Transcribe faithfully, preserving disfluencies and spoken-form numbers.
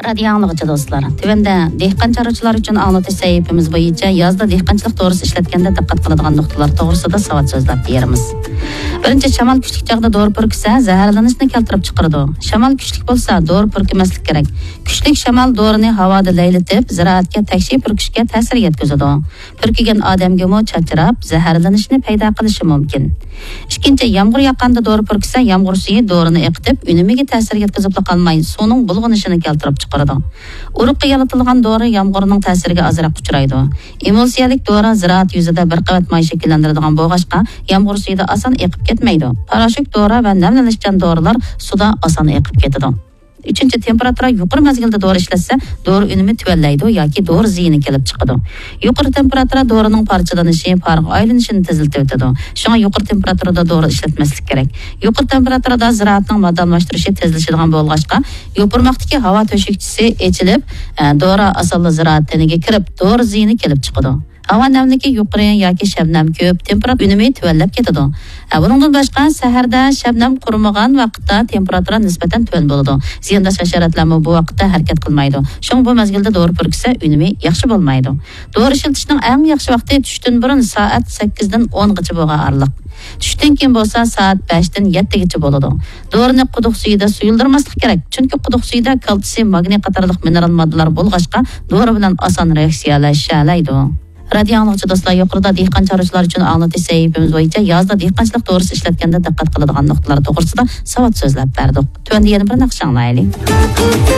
رادىيو ئاڭلىغۇچى دوستلار، تۆۋەندە دېھقان چارۋىچىلار ئۈچۈن ئاڭلىتىش سەھىپىمىز بويىچە يازدا دېھقانچىلىق دورىسى ئىشلەتكەندە دىققەت قىلىدىغان نۇقتىلار توغرىسىدا ساۋات سۆزلەپ بېرىمىز. بىرىنچى، شامال كۈچلۈك چاغدا دورا پۈركۈسە، زەھەرلىنىشنى كەلتۈرۈپ چىقىرىدۇ. شامال كۈچلۈك بولسا، دورا پۈركۈمەسلىك كېرەك. كۈچلۈك شامال دورىنى ھاۋادا لەيلىتىپ، زىرائەتكە تەكشى پۈركۈشكە تەسىر يەتكۈزىدۇ. پۈركۈگەن ئادەمگىمۇ چاچراپ، زەھەرلىنىشنى پەيدا قىلىشى مۇمكىن. ئىككىنچى، يامغۇر ياغقاندا دورا پۈركۈسە، يامغۇر سۈيى دورىنى ئېقىتىپ، ئۈنۈمىگە تەسىر يەتكۈزۈپلا قالماي، سۇنىڭ بۇلغىنىشىنى كەلتۈرۈپ چىقىرىدۇ. ئۇرۇققا يالىتىلغان دورا يامغۇرنىڭ تەسىرىگە ئازراق ئۇچرايدۇ. ئېمۇلسىيەلىك دورا زىرائەت يۈزىدە بىر قەۋەت ماي شەكىللەندۈرىدىغان بولغاچقا، يامغۇر سۈيىدە ئاسان ئېقىپ كەتمەيدۇ. پاراشوك دورا ۋە نەملىنىشچان دورىلار سۇدا ئاسان ئېقىپ كېتىدۇ. ئۈچىنچى، تېمپېراتۇرا يۇقىرى مەزگىلدە دورا ئىشلەتسە، دورا ئۈنۈمى تۆۋەنلەيدۇ ياكى دورا زىيىنى كېلىپ چىقىدۇ. يۇقىرى تېمپېراتۇرا دورىنىڭ پارچىلىنىشى، پارغا ئايلىنىشىنى تېزلىتىۋېتىدۇ. شۇڭا يۇقىرى تېمپېراتۇرىدا دورا ئىشلەتمەسلىك كېرەك. يۇقىرى تېمپېراتۇرىدا زىرائەتنىڭ ماددە ئالماشتۇرۇشى تېزلىشىدىغان بولغاچقا، يوپۇرماقتىكى ھاۋا تۆشۈكچىسى ئېچىلىپ، ئە، دورا ئاسانلا زىرائەت تېنىگە كىرىپ، دورا زىيىنى كېلىپ چىقىدۇ. ھاۋا نەملىكى يۇقىرى ياكى شەبنەم كۆپ، تېمپېراتۇرا ئۈنۈمى تۆۋەنلەپ كېتىدۇ. ئە، بۇنىڭدىن باشقا، سەھەردە شەبنەم قۇرۇمىغان ۋاقىتتا تېمپېراتۇرا نىسبەتەن تۆۋەن بولىدۇ. زىيانداش ھەشەراتلارمۇ بۇ ۋاقىتتا ھەرىكەت قىلمايدۇ. شۇڭا بۇ مەزگىلدە دورا پۈركۈسە، ئۈنۈمى ياخشى بولمايدۇ. دورا ئىشلىتىشنىڭ ئەڭ ياخشى ۋاقتى چۈشتىن بۇرۇن سائەت سەككىزدىن ئونغىچە بولغان ئارىلىق. چۈشتىن كېيىن بولسا سائەت بەشتىن يەتتىگىچە بولىدۇ. دورىنى قۇدۇق سۈيىدە سۇيۇلدۇرماسلىق كېرەك، چۈنكى قۇدۇق سۈيىدە كالتسىي، ماگنىي قاتارلىق مىنېرال ماددىلار بولغاچقا، دورا بىلەن ئاسان رېئاكسىيەلەشەلەيدۇ. رادىيو ئاڭلىغۇچى دوستلار، يۇقىرىدا دېھقان چارۋىچىلار ئۈچۈن ئاڭلىتىش سەھىپىمىز بويىچە يازدا دېھقانچىلىق دورىسى ئىشلەتكەندە دىققەت قىلىدىغان نۇقتىلار توغرىسىدا ساۋات سۆزلەپ بەردۇق. تۆۋەندە يەنە بىر ناخشا ئاڭلايلى.